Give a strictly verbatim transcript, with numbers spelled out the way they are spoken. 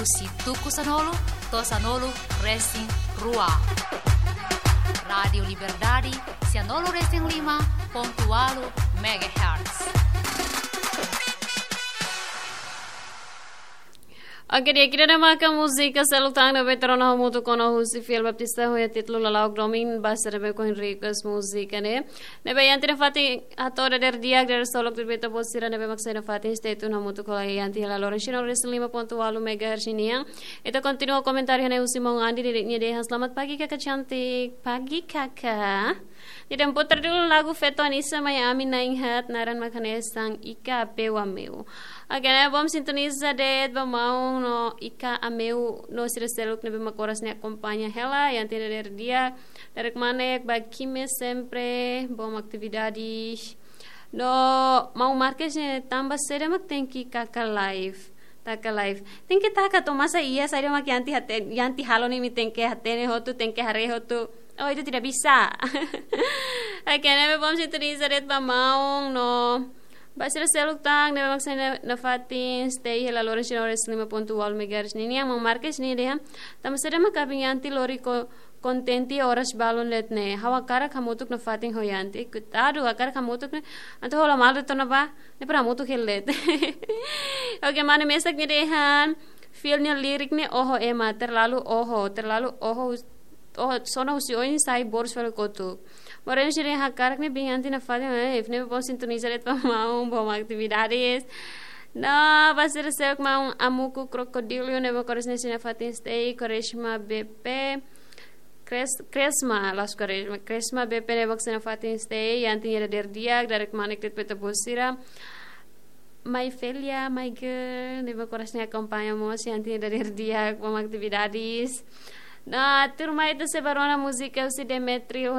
husi tuku sanulu to'o sanulu resin rua. Rádiu Liberdade, sanulu resin lima pontu ualu megahertz. Oke, di'ak, ida-ne'e maka múzika seluk tan ne'ebé rona hamutuk ona husi Fiel Baptista, ho títulu Lala'ok Domin, ba sira ne'ebé ohin request múzika ne'e. Ne'ebé iha tiha ona fatin atu dadeer di'ak, dadeer solok ba ita-boot sira ne'ebé mak sei iha fatin stay tune hamutuk ho Ian Ti hela loron sanulu resin lima pontu ualu megahertz nian. Ita kontinua komentáriu ne'e husi maun Andi, nia dehan selamat pagi kakak cantik, pagi kakak. Nia dehan putar dulu lagu feto Anissa mai ami na'in-haat, naran mak hanesan Ika Apeu Ameu. Oke, ne'e bom sintoniza de'it ba maun no Ika Ameu no sira seluk ne'ebé mak oras ne'e akompaña hela, iha tiha ona dadeer di'ak, dadeer kmanek ba Kime sempre, bom atividade. No maun Marques ne'e tanba saida mak tenke taka live. Taka live. Tenke taka to'o masa iha saida mak Ian Ti hate-, Ian Ti halo ne'e imi tenke hatene hotu, tenke haree hotu. Oh, itu tidak bisa. Oke, ne'ebé bom sintoniza de'it ba maun no ba sira seluk tan ne'ebé mak sei iha fatin stay hela loron sanulu resin lima pontu ualu megahertz nian, maun Marques nia dehan tanba saida mak abin Ian Ti lori ko-, kontente oras balun de'it ne'e. Ha'u hakarak hamutuk nafatin ho Ian Ti. Koitadu, hakarak hamutuk ne'e. Entaun hola malu tona ba, ne'e para hamutuk hela de'it. Oke, mane mesak nia dehan Fiel nia lirik ne'e oho ema, terlalu oho, terlalu oho, oho, sona husi oin sai boros fali kotuk. Moreno sira hakarak ne'e abin Ian Ti nafatin, eh, ne'ebé bom sintoniza de'it ba maun, bom atividades. No, ba sira seluk maun Amuku Krokodilo ne'ebé mak oras ne'e sei iha fatin stay, Quaresma B P, Kres-, Kresma, las Quaresma, Kresma B P ne'ebé mak sei iha fatin stay, iha tiha ona dadeer di'ak, dadeer kmanek de'it ba ita-boot sira. Mai Felia, mai girl, ne'ebé mak oras ne'e akompaña mós, iha tiha ona dadeer di'ak, bom atividades. No, tuirmai ita sei ba rona múzika husi Demetrio